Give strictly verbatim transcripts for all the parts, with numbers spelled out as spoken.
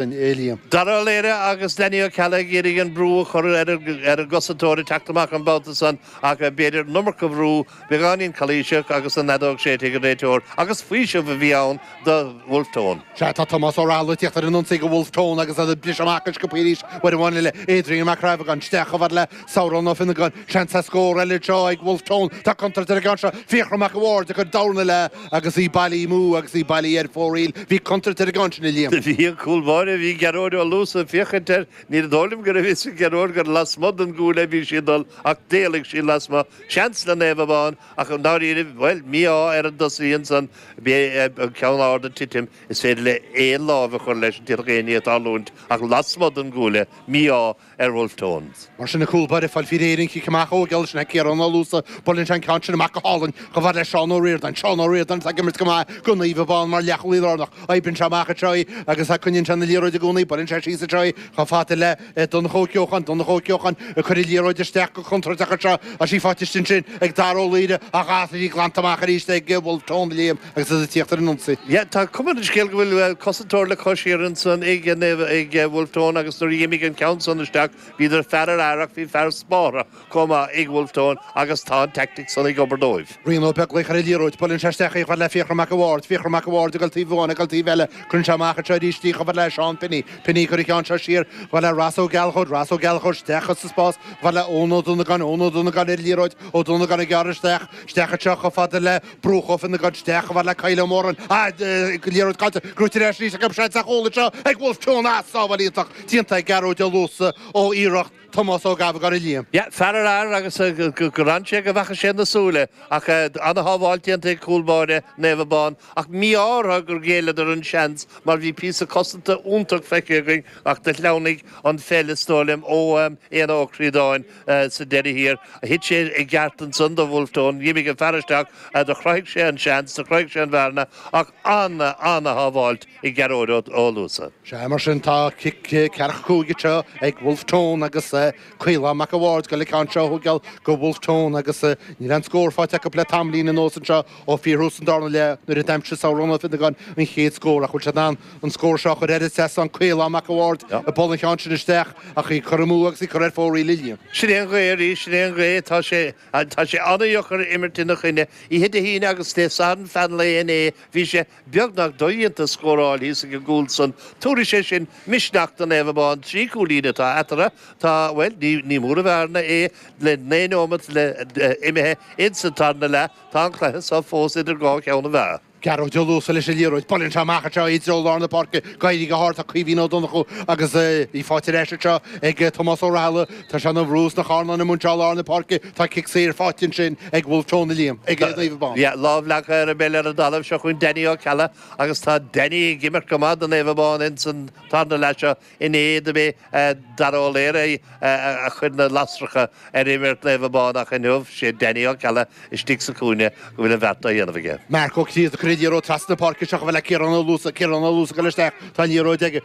a Liam. Dara Ó Laoire agus Danny Ó Ceallaigh ag iarraidh an brú a chur ar an gcosantóir ag teacht amach an babhta san ach b'fhéidir an iomarca brú, beagáinín calaoiseach agus an fheadóg séidte ag an réiteoir agus faoiseamh a bhí ann do Bhulf Tón. Sea, tá Tomás Ó Rathaille ag tíocht ar an ionsaí do Bhulf Tón agus iad ag briseadh amach go sciobtha arís uair amháin eile. Adrian Mac Crabhagáin isteach chomh fada le Sabhrán Ó Fionnagáin. Seans ar scór eile anseo ag Bhulf Tón. Tá contúirt ar an gceann seo. Fiachra Mac a' Bhaird ag cur dorn eile agus í bailithe amú agus í bailithe ar fóraoil. Bhí contúirt ar an gceann sin, a Liam. Bhí an cúl báire, bhí Gearóid Ó Luasa ag féachaint air. Ní dóigh liom go raibh fhios ag Gearóid gur lasmuigh den gcuaille a bhí sí ag dul ach d'éalaigh sí lasmuigh. Seans le Naomh Abán ach i ndáiríre, bhuel, mí-ádh ar an dtosaí ansan, b'é an ceann ard ag titim, is féidir le aon lámh a chur leis, d'fhéadfadh aon ní a tarlúint ach lasmuigh den gcuaille, mí-ádh ar Bhulf Tones. Mar sin, an cúl báire ag fáil faoi réir an chic amach ó gheall sin ag Ciarán Ó Luasa. Buaileann sé an ceann sin amach go hálainn chomh fada le Seán Ó Ríordáin. Seán Ó Ríordáin atá ag imirt go maith do Naomh Abán mar leathchúlaí lárnach. Oibríonn sé amach anseo í agus coinníonn sé na liathróid i gcónaí. Buaileann sé síos anseo í chomh fada le Donncha Ó Ceocháin. Donncha Ó Ceocháin ag cur an liathróid isteach go contúirteach anseo. Tá sí faighte istigh ansin ag Dara Ó Laoire ach tá sí glanta amach arís ag Bhulf Tón, Liam, agus iad ag tíocht ar an ionsaí. Yeah, tá cuma ar an scéal go bhfuil cosantóir le cois thiar ansan ag ag Bhulf Tón agus nuair a d'imigh an ceann san isteach bhíodar fear ar fhear ach bhí fear spártha chomh maith ag Bhulf Tón agus tá an teaictic san ag obair dóibh. Rian Ó Beaglaoich ar an liathróid, buaileann sé isteach í chomh fada le Fiachra Mac a' Bhaird, Fiachra Mac a' Bhaird ag dul taobh amháin, ag dul taobh eile, cuireann sé amach anseo arís í chomh fada le Seán Pinney, Pinney ag cur an ceann seo siar chomh fada le Ross Ó Gallchóir, Ross Ó Gallchóir isteach sa spás chomh fada le Eoin Ó Donnacháin, Eoin Ó Donnacháin ar an liathróid, Ó Donnacháin ag gearradh isteach, isteach anseo chomh fada le Brúch Ó Fionnagáin, isteach chomh fada le Kyle Ó Móráin, ah, liathróid caillte, gnóite ar ais arís acu, seans ar chúl anseo ag Bhulf Tón, ah, sábháil iontach déanta ag Gearóid Ó Luasa ó iarracht Tomás Ó Gabhagáin a Liam. Yeah, fear ar fhear agus gur fhan sé go bhfaca sé na súile ach ana-shábháil déanta ag cúl báire Naomh Abán ach mí-ádh orthu gur ghéilleadar an seans mar bhí píosa cosanta iontach feicthe againn ach do shleamhnaigh an pheil is dóigh liom ó Éanna Ó Críodáin sa deireadh thiar. Thit sé i gceart ansan do Bhulf Tón, d'imigh an fear isteach, do chruthaigh sé an seans, do chruthaigh sé an bhearna ach ana-ana-shábháilt ag Gearóid Ó Luasa. Sea, mar sin tá cic ceathracha cúig anseo ag Bhulf Tón agus Caolán Mac a' Bhaird ag dul an ceann seo a thógáil do Bhulf Tón agus níl aon scór faighte acu le tamaillín anuas anseo ó fíorthús an darna leath nuair a d'aimsigh Sabhrán Ó Fionnagáin an chéad scór ach bhfuil siad in ann an scór seo a chur ar an trasnán Caolán Mac a' Bhaird ag bualadh an cheann sin isteach ach í curtha amú agus í curtha ar fóraoil a Liam. Sin é an ghaoth arís, sin é an ghaoth, tá sé tá sé an-dheacair imirt ina choinne. Oíche Dé hAoine agus Dé Sathairn feadh an lae inné bhí sé beagnach dodhéanta scóráil thíos ag an gcúl san. Tabharfaidh sé sin misneach do Naomh Abán. Trí chúilín atá eatarthu. Tá, bhuel, ní ní mór an bhearna é le naoi nóimeat le imithe ins an tarna leath. Tá an cluiche seo fós idir dhá cheann na meá. Gearóid Ó Luasa leis an liathróid. Buaileann sé amach anseo i dtreo lár na páirce. Ag éirí go hard tá Caoimhín Ó Donnchú agus í faighte ar ais anseo ag Tomás Ó Rathaille. Tá sé ina bhrú sna carnáin amuigh anseo i lár na páirce. Tá cic saor faighte ansin ag Bhulf Tón a Liam, ag Naomh Abán. Yeah, lámh leagtha ar an bpeil ar an dtalamh. Seo chugainn Danny Ó Ceallaigh agus tá Danny ag imirt go maith do Naomh Abán ins an tarna leath seo. Inné do b'é Dara Ó Laoire a chuir na lasracha ar imirt Naomh Abán ach inniu sé Danny Ó Ceallaigh istigh sa chúinne go bhfuil an bheart á dhéanamh aige. Marc Ó Críoda ag cur an liathróid trasna na páirce seo chomh fada le Ciarán Ó Luasa. Ciarán Ó Luasa ag dul isteach. Tá an liathróid aige.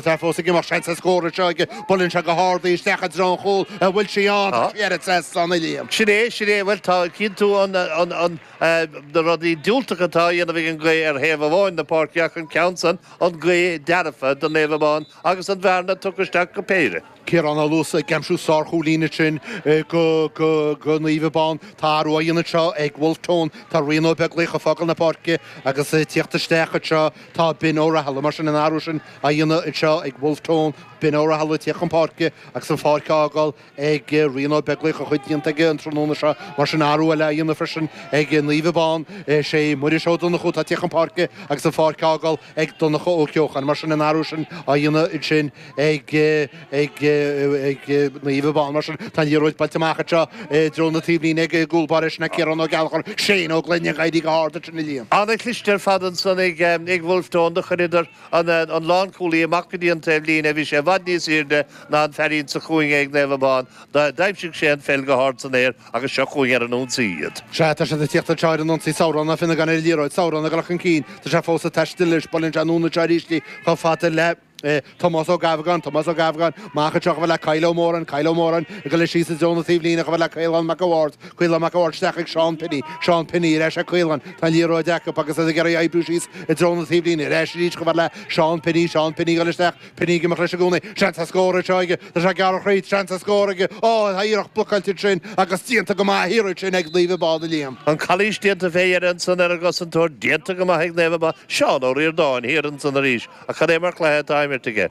Tá fós ag imeacht. Seans ar scór anseo aige. Buaileann sé go hard í isteach i dtreo an chúil. An bhfuil sí ann? Tá sí ar an trasnán, a Liam. Sin é, sin é. Bhuel, tá, cíonn tú an, an, an, na rudaí diúltacha atá á dhéanamh ag an ngaoth ar thaobh amháin na páirce ach an ceann san, an ghaoth dearfa do Naomh Abán agus an bhearna tugtha isteach go péire. Ciarán Ó Luasa ag aimsiú sárchúilín ansin do Naomh Abán. Tá athrú á dhéanamh anseo ag Bhulf Tón. Tá Rian Ó Beaglaoich ag fágáil na páirce agus ag tíocht isteach anseo tá Ben Ó Rathaille. Mar sin an athrú sin á dhéanamh anseo ag Bhulf Tón, Ben Ó Rathaille ag tíocht chun páirce agus an pháirc á fhágáil ag Rian Ó Beaglaoich a chuid déanta aige an tráthnóna seo. Mar sin athrú eile á dhéanamh freisin ag Naomh Abán. Is é Muiris Ó Donnchú atá ag tíocht chun páirce agus an pháirc á fhágáil ag Donncha Ó Ceocháin. Mar sin an athrú sin á dhéanamh ansin ag ag ag Naomh Abán. Mar sin tá an liathróid buailte amach anseo i dtreo na taobhlíne ag an gcúl báire sin Ciarán Ó Gallchóir. Shane Ó Gloinn ag éirí go hard ansin a Liam. An-chliste ar fad ansan ag ag Bhulf Tón. Do chuireadar an an lánchúlaí amach go dtí an taobhlíne. Bhí sé i bhfad níos airde ná an feairín sa chúinne ag Naomh Abán. D'aimsigh sé an pheil go hard san aer agus seo chugainn ar an ionsaí iad. Sea, tá siad ag tíocht anseo ar an ionsaí. Sabhrán Ó Fionnagáin ar an liathróid. Sabhrán ag dul chun cinn. Tá sé fós ag taisteal leis. Buaileann sé anonn anseo arís í chomh fada le Tomás Ó Gabhagáin, Tomás Ó Gabhagáin, amach anseo chomh fada le Kyle Ó Móráin, Kyle Ó Móráin ag dul síos i dtreo na taobhlíne chomh fada le Caolán Mac a' Bhaird, Caolán Mac a' Bhaird isteach ag Seán Pinney, Seán Pinney ar ais ag Caolán, tá an liathróid acu agus iad ag iarraidh oibriú síos i dtreo na taobhlíne, ar ais arís chomh fada le Seán Pinney, Seán Pinney ag dul isteach, Pinney ag imeacht leis i gcónaí, seans ar scór anseo aige, tá sé ag gearradh thríd, seans ar scór aige, ó, tá iarracht blocáilte ansin agus déanta go maith an iarraidh sin ag Naomh Abán, a Liam. An calaois déanta fé dheireadh ansan ar an gcosantóir, déanta go maith ag Naomh Abán, Seán Ó Ríordáin thiar ansan arís, ach cad é mar chluiche atá á imirt aige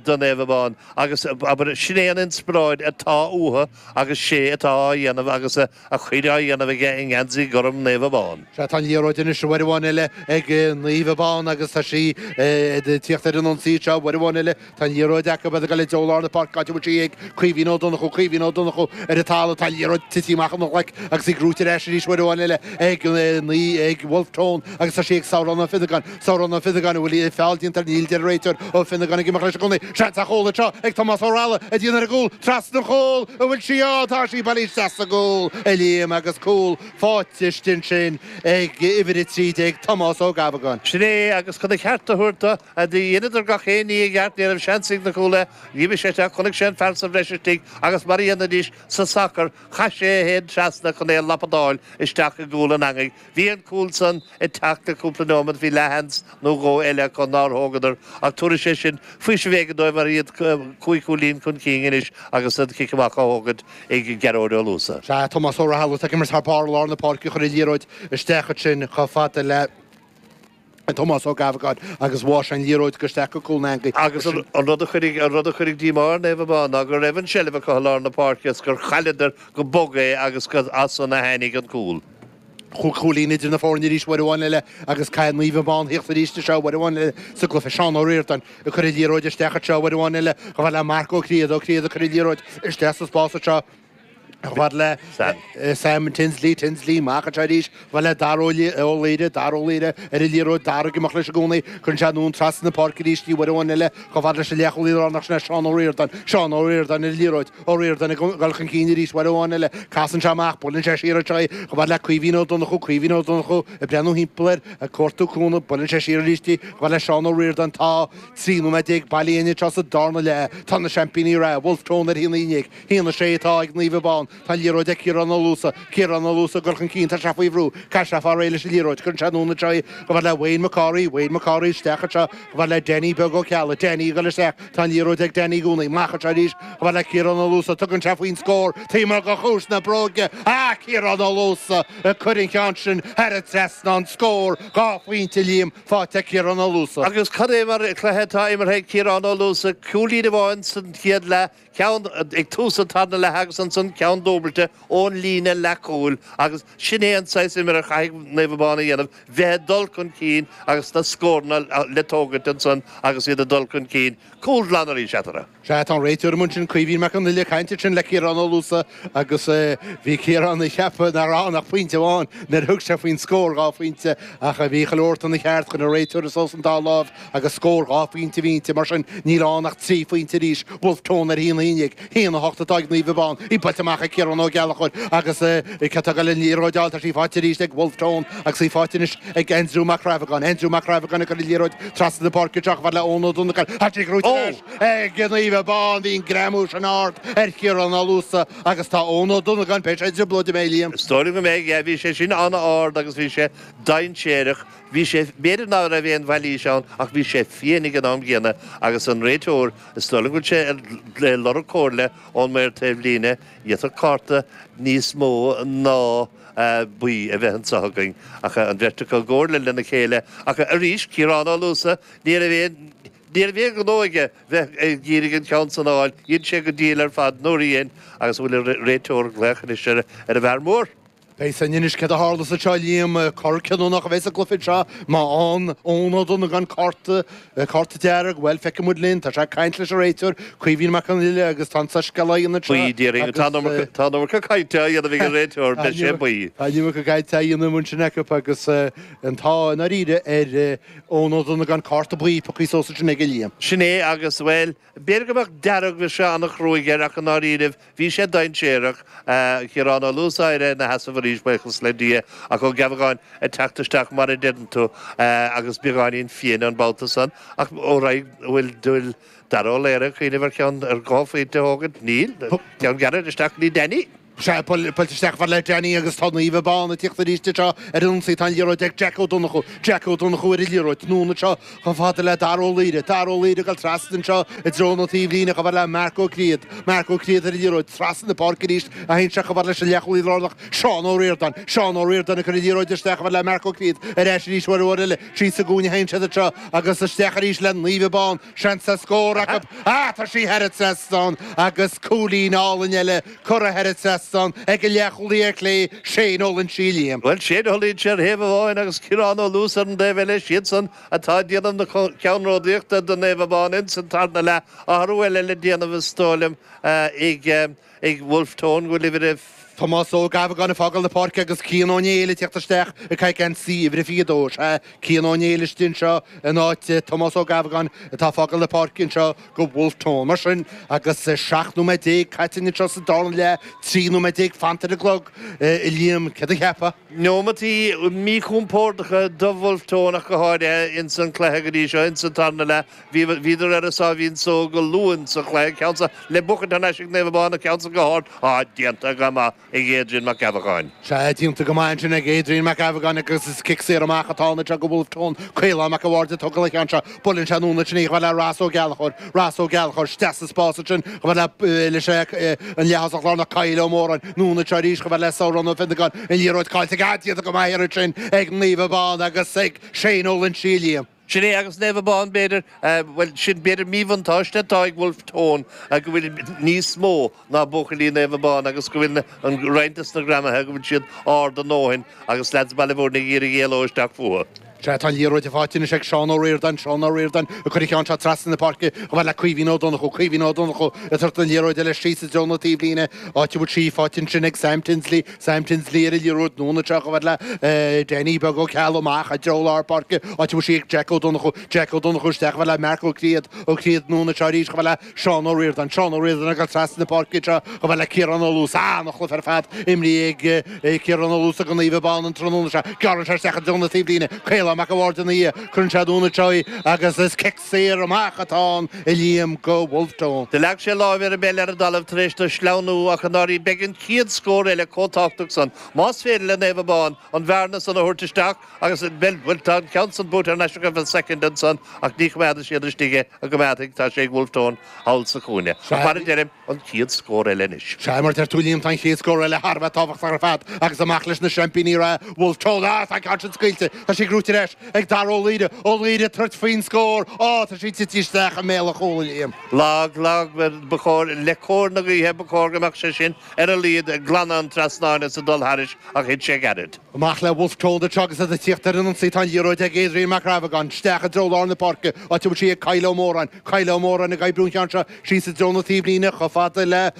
do Naomh Abán agus abair sin é an inspioráid atá uathu agus sé atá á dhéanamh agus a chuid á dhéanamh aige i ngeansaí gorm Naomh Abán. Sea, tá an liathróid anois uair amháin eile ag Naomh Abán agus tá sí ag tíocht ar an ionsaí seo uair amháin eile. Tá an liathróid acu ag dul i dtreo lár na páirce áit a bhfuil sí ag Caoimhín Ó Donnchú, Caoimhín Ó Donnchú ar an talamh. Tá an liathróid tite amach ina ghlaic agus í gnóite ar ais arís uair amháin eile ag ag Wolfe Tone agus tá sí ag Samhrán Ó Fionnagáin, Samhrán Ó Fionnagáin, an bhfuil feall déanta air? Níl, deir an réiteoir. Ó Fionnagáin ag imeacht leis i gcónaí. Seans ar chúl anseo ag Tomás Ó Rathaille ag déanamh ar an gcúl, trasna an chúil, an bhfuil sí ann? Tá sí bailithe isteach sa gcúl, a Liam, agus cúl faighte istigh ansin ag uimhir a trí déag, Tomás Ó Gabhagáin. Sin é, agus chun a cheart a thabhairt dó, dheineadar gach aon ní i gceart, ní raibh seans ag na cúlaithe. Dh'imigh sé isteach, chonaic sé an fear sa bhreis istigh agus mar a dhéanfaidís sa sacar, chaith sé é féin trasna chun é a lapadáil isteach i gcúl an eangaigh. Bhí an cúl san ag teacht le cúpla nóiméad, bhí leathsheans nó dhó eile acu nár thógadar ach tabharfaidh sé sin faoiseamh éigin dóibh mar iad cúig chúilín chun cinn anois agus an cic amach á thógaint ag Gearóid Ó Luasa. Sea, Tomás Ó Rathaille atá ag imirt thar barr i lár na páirce a chuir an liathróid isteach ansin chomh fada le Tomás Ó Gabhagáin agus bháigh sé an liathróid go isteach go cúl an eangaigh. Agus an rud a chuirfidh an rud a chuirfidh díomá ar Naomh Abán ná go raibh an seilbh acu i lár na páirce is gur chailleadar go bog é agus gur as san a tháinig an cúl. Chúig chúilín idir na foirne arís uair amháin eile agus caithfidh Naomh Abán theacht arís anseo uair amháin eile sa gcluiche. Seán Ó Ríordáin ag cur an liathróid isteach anseo uair amháin eile chomh fada le Marc Ó Críoda, Ó Críoda ag cur an liathróid isteach sa spás anseo. Chomh fada le Sam Tinsley, Tinsley amach anseo arís, chomh fada le Dara Ó Laoire, Dara Ó Laoire ar an liathróid, Dara ag imeacht leis i gcónaí, cuireann sé anonn trasna na páirce arís í uair amháin eile, chomh fada leis an leathchúlaí lárnach sin é Seán Ó Ríordáin, Seán Ó Ríordáin ar an liathróid, Ó Ríordáin ag dul chun cinn arís uair amháin eile, casann sé amach, buaileann sé siar anseo í, chomh fada le Caoimhín Ó Donnchú, Caoimhín Ó Donnchú ag breathnú thimpeall air, ag cuartú cúnamh, buaileann sé siar arís í, chomh fada le Seán Ó Ríordáin, tá trí nóiméad déag bailithe againn anseo sa darna leath, tá na seaimpíní reatha, Wolfe Tone ar a haon a haon déag, haon a sé atá ag Naomh Abán. Tá an liathróid ag Ciarán Ó Luasa. Ciarán Ó Luasa ag dul chun cinn. Tá sé faoi bhrú. Caithfidh sé fáil réidh leis an liathróid. Cuireann sé anonn anseo í chomh fada le Wayne McCorry. Wayne McCorry isteach anseo chomh fada le Danny Beag Ó Ceallaigh. Danny ag dul isteach. Tá an liathróid ag Danny i gcónaí. Amach anseo arís chomh fada le Ciarán Ó Luasa. Tugann sé faoin scór taobh amuigh de chuas na bróige. Ah! Ciarán Ó Luasa ag cur an cheann sin thar an trasnán. Scór dhá phointe, Liam, faighte ag Ciarán Ó Luasa. Agus cad é mar chluiche atá imeartha ag Ciarán Ó Luasa. Cúilín amháin san chéad leath. Ceann ag tús an tarna leath agus ansan ceann dúbailte ón líne leathchúil agus sin é an saghas imeartha a chaithfidh Naomh Abán a dhéanamh, bheith ag dul chun cinn agus na scóranna le tógaint ansan agus iad ag dul chun cinn. Cúl glan arís eatarthu. Sea, tá an réiteoir amuigh ansin, Caoimhín Mac Con Uile, ag caint ansin le Ciarán Ó Luasa agus bhí Ciarán ag ceapadh nach raibh ann ach pointe amháin nuair a thug sé faoin scór dhá phointe ach bhí chuile shórt ina cheart, chuir an réiteoir suas an dá láimh agus scór dhá phointe a bhí inti, mar sin níl ann ach trí phointe arís. Wolfe Tone ar a haon a haon déag, haon a hocht atá ag Naomh Abán, í buailte amach ag Ciarán Ó Gallchóir agus cé atá ag dul an liathróid a fháil, tá sí faighte arís ag Wolfe Tone agus í faighte anois ag Aindriú Mac Crabhagáin. Aindriú Mac Crabhagáin ag cur an liathróid trasna na páirce anseo chomh fada le Eoin Ó Donnacháin. Tá sí gnóite ar ais ag Naomh Abán. Bhí an greamú sin ard ar Chiarán Ó Luasa agus tá Eoin Ó Donnacháin, beidh sé i dtrioblóid, an mbeidh, Liam? Is dóigh liom go mbeidh, yeah. Bhí sé sin an-ard agus bhí sé dainséarach. Bhí sé, b'fhéidir ná raibh aon mhailís ann ach bhí sé fiain ag an am gcéanna agus an réiteoir, is dóigh liom go bhfuil sé ag lorg comhairle ón maor taobhlíne, d'fhéadfadh cárta níos mó ná buí a bheith anseo againn ach an bheirt acu i gcomhairle lena chéile ach arís, Ciarán Ó Luasa, ní raibh aon, ní raibh aon ghnó aige bheith ag iarraidh an ceann san a fháil, dhein sé go diail ar fad nuair a dhein agus an bhfuil an réiteoir ag glaoch anois ar an bhfear mór? Beidh a fhios againn anois céard a tharlas anseo, Liam. Cor cinniúnach a bheidh sa gcluiche seo. Má fhaigheann Eoin Ó Donnacháin cárta, cárta dearg, bhuel, feicfidh muid linn. Tá sé ag caint leis an réiteoir, Caoimhín Mac Con Uile, agus tá an soiscéal á dhéanamh anseo. Buí, déarfainn. Tá an iomarca, tá an iomarca cainte á dhéanamh ag an réiteoir, beidh sé buí. Tá an iomarca cainte á dhéanamh ansin acu agus an t-ádh i ndáiríre ar Eoin Ó Donnacháin cárta buí pioctha suas ansin aige, Liam. Sin é agus, bhuel, B'fhéidir go mbeadh dearg, bhí sé an-chruaidh air ach i ndáiríribh bhí sé dainséarach. Ciarán Ó Luasa éirithe ina sheasamh arís. arís buíochas le Dia ach Ó Geamhagáin ag teacht isteach mar a deireann tú agus beagáinín fiain an babhta san ach ó bhfuil dúil Dara Ó Laoire ag cuimhneamh ar cheann ar dhá phointe a thógaint níl ceann gairid isteach go dtí Danny. Sea, buailte isteach fad le Danny agus tá Naomh Abán ag tíocht arís anseo ar an ionsaí. Tá an liathróid ag Jack Ó Donnchú. Jack Ó Donnchú ar an liathróid. Anonn anseo chomh fada le Dara Ó Laoire. Dara Ó Laoire ag dul trasna anseo i dtreo na taobhlíne chomh fada le Marc Ó Criad. Marc Ó Criad ar an liathróid. Trasna na páirce arís a théann sé chomh fada leis an leathchúlaí lárnach Seán Ó Ríordáin. Seán Ó Ríordáin ag cur an liathróid isteach chomh fada le Marc Ó Criad. Ar ais arís uair amháin eile. Síos sa gcúinne a théann siad anseo agus isteach arís le Naomh Abán. Seans ar scór acu. Ah, tá sí thar an trasnán agus cúilín álainn eile curtha thar an trasnán ag an leathchúlaí ar chlé, Shane Ó Loinsigh Liam. Bhuel, Shane Ó Loinsigh ar thaobh amháin agus Ciarán Ó Luasa ar an dtaobh eile, siadsan atá ag déanamh na ceannródaíochta do Naomh Abán ins an tarna leath. Athrú eile le déanamh is dóigh liom ag ag Wolfe Tone go bhfuil uimhir a Tomás Ó Geamhagáin ag fágáil na páirce agus Cian Ó Néill ag tíocht isteach ag caitheamh geansaí uimhir a fiche dó. Sea, Cian Ó Néill istigh anseo in áit Tomás Ó Geamhagáin atá ag fágáil na páirce anseo go Wolfe Tone. Mar sin, agus seacht nóiméad déag caite anseo sa darna leath, trí nóiméad déag fanta ar an gclog, a Liam, céard a cheapfá? Neomataí míchompórdacha do Wolfe Tone ach go háirithe ins an cluiche go dtí seo, ins an tarna leath. Bhíodar ar a sáimhín só go luath ins an chluiche, ceann san le buachaint thar n-ais ag Naomh Abán, an ceann san go hard, á, déanta go maith ag Adrian Mac Gabhacáin. Sea, déanta go maith ansin ag Adrian Mac Gabhacáin agus is cic saor amach atá ann anseo go Wolfe Tone. Caolán Mac a' Bhaird ag tógáil an cheann seo. Buaileann sé anonn ansin í chomh fada le Ross Ó Gallchóir. Ross Ó Gallchóir isteach sa spás ansin chomh fada le leis an leath-thosach lárnach Kyle Ó Móráin. Anonn anseo arís chomh fada le Sabhrán Ó Fionnagáin. An liathróid caillte aige. Déanta go maith ansin ag Naomh Abán agus ag Shane Ó Loinsigh Liam. Sin é agus Naomh Abán b'fhéidir, bhuel sin b'fhéidir míbhuntáiste atá ag Wolfe Tone go bhfuil níos mó ná buachaillí Naomh Abán agus go bhfuil an roinnt des na greamaithe go bhfuil siad ard a ndóthain agus leaids Bhaile Bhúirne ag iarraidh éaló isteach fúthu. Sea, tá an liathróid faighte anois ag Seán Ó Ríordáin, Seán Ó Ríordáin ag cur an cheann seo trasna na páirce chomh fada le Caoimhín Ó Donnchú, Caoimhín Ó Donnchú ag tabhairt an liathróid eile síos i dtreo na taobhlíne, áit a bhfuil sí faighte ansin ag Sam Tinsley, Sam Tinsley ar an liathróid anonn anseo chomh fada le Danny Beag Ó Ceallaigh amach i dtreo lár páirce, áit a bhfuil sí ag Jack Ó Donnchú, Jack Ó Donnchú isteach chomh fada le Marc Ó Criad, Ó Criad anonn anseo arís chomh fada le Seán Ó Ríordáin, Seán Ó Ríordáin ag dul trasna na páirce anseo chomh fada le Ciarán Ó Luasa, an-chluiche ar fad imrithe ag Ciarán Ó Luasa go Naomh Abán an tráthnóna seo. Gearrann sé isteach i dtreo na taobhlíne, Caolán Mac a' Bhaird ina dhiaidh, cuireann sé anonn anseo í agus is cic saor amach atá ann a Liam go Wolfe Tone. Do leag sé láimh ar an bpeil ar an dtalamh tar éis do sleamhnú ach i ndáiríre beidh an chéad scór eile chomh tábhachtach san. Más féidir le Naomh Abán an bhearna san a thabhairt isteach agus bhuel, bhuel tá an ceann san buaite thar n-ais acu an soicind ansan ach ní choimeádfaidh siad istigh é an gcoimeádfaidh, tá sé ag Wolfe Tone thall sa chúinne. Ach mar a deirim, an chéad scór eile anois. Sea, mar a deir tú Liam, tá an chéad scór eile thar a bheith tábhachtach ar fad agus amach leis na seaimpíní reatha, Wolfe Tone. Ah, tá an ceann sin scaoilte. Tá sí gnóite ar ais ag Dara Ó Laoire. Ó Laoire ag tabhairt faoin scór. Á, tá sí tite isteach i mbéal an chúil, a Liam. Lag, lag, ba chóir, le cóir na gaoithe, ba chóir go mbeadh sé sin ar a laghad ag glanadh an trasnáin is ag dul thairis ach thit sé gairid. Amach le Wolfe Tone anseo agus iad ag tíocht ar an ionsaí. Tá an liathróid ag Adrian Mac Rabhagáin. Isteach i dtreo lár na páirce, áit a bhfuil sí ag Kyle Ó Móráin. Kyle Ó Móráin ag oibriú an cheann seo síos i dtreo na taobhlíne chomh fada le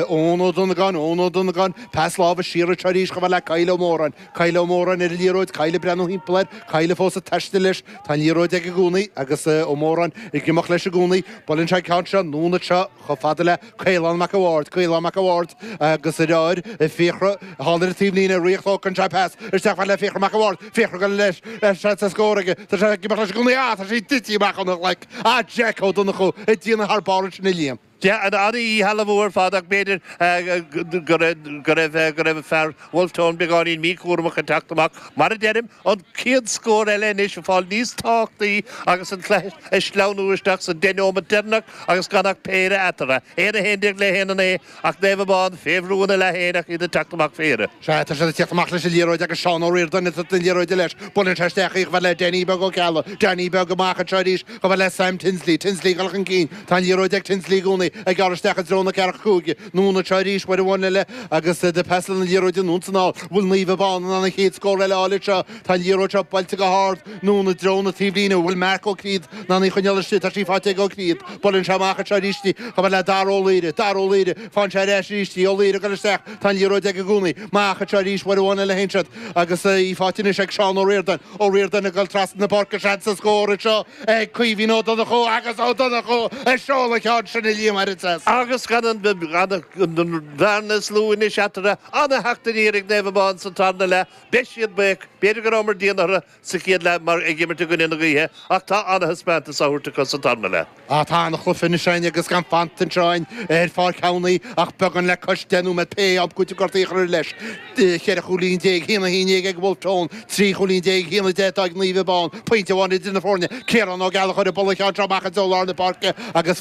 Eoin Ó Donnagáin, Eoin Ó Donnagáin, pas láimhe siar anseo arís chomh fada le Kyle Ó Móráin, Kyle Ó Móráin ar an liathróid, Kyle ag breathnú thimpeall air, Kyle fós ag taisteal leis, tá an liathróid aige i gcónaí agus Ó Móráin ag imeacht leis i gcónaí. Buaileann sé an ceann seo anonn anseo chomh fada le Caolán Mac a' Bhaird, Caolán Mac a' Bhaird agus a dheartháir Fiachra thall ar an taobhlíne, ríocht tógann sé pas isteach fad le Fiachra Mac a' Bhaird, Fiachra ag dul leis, seans ar scór aige, tá sé ag imeacht leis i gcónaí, ah tá sí tite amach óna ghlaic, ah Jack Ó Donnchú ag déanamh thar barr ansin a Liam. An-dhíshealbhú ar fad ach b'fhéidir go raibh go raibh fear Wolfe Tone beagáinín míchúramach ag teacht amach. Mar a deirim, an chéad scór eile anois ag fáil níos tábhachtaí agus an cluiche ag sleamhnú isteach sa deich neomat deireanach agus gan ach péire eatarthu. Aon a haon déag le haon a naoi ach Naomh Abán fé bhrú ina leath féin ach iad ag teacht amach fé dheireadh. Sea, tá siad ag teacht amach leis an liathróid agus Seán Ó Ríordáin ag tabhairt na liathróide leis. Buaileann sé isteach í chomh fada le Danny Beag Ó Ceallaigh. Danny Beag amach anseo arís chomh fada le Sam Tinsley. Tinsley ag dul chun cinn. Tá an liathróid ag Tinsley i gcónaí, ag gearradh isteach i dtreo na ceathracha cúig. Anonn anseo arís uair amháin eile agus ag pasáil na liathróide anonn is anall. Bhfuil Naomh Abán in ann an chéad scór eile a fháil anseo? Tá an liathróid seo buailte go hard anonn i dtreo na taobhlíne. Bhfuil Marc Ó Criad in ann í a choinneáil istigh? Tá sí faighte ag Ó Criad. Buaileann sé amach anseo arís í chomh fada le Dara Ó Laoire. Dara Ó Laoire, faigheann sé ar ais arís í. Ó Laoire ag dul isteach. Tá an liathróid aige i gcónaí. Amach anseo arís uair amháin eile a théann siad agus í faighte anois ag Seán Ó Ríordáin. Ó Ríordáin ag dul trasna na páirce. Seans ar scór anseo ag Caoimhín Ó Donnchú agus Ó Donnchú ag seoladh an cheann sin a Liam. maith thar an trasnán. Agus gan an bhearna is lú anois eatarthu, ana-theacht aniar ag Naomh Abán sa tarna leath. Beidh siad buíoch, b'fhéidir go rabhamar dian orthu sa chéad leath mar ag imirt i gcoinne na gaoithe, ach tá ana-thaispeántas á thabhairt acu sa tarna leath. Á, tá ana-chluiche anois againn agus gan fanta anseo againn ar Pháirc Thamhnaigh ach beagán le cois deich nóiméad pé am cúiteamh gortaithe a chur leis. Ceithre chúilín déag, a haon a haon déag ag Wolfe Tone, trí chúilín déag, a haon a deich atá ag Naomh Abán, pointe amháin idir na foirne. Ciarán Ó Gallchóir ag bualadh an cheann seo amach i dtreo lár na páirce agus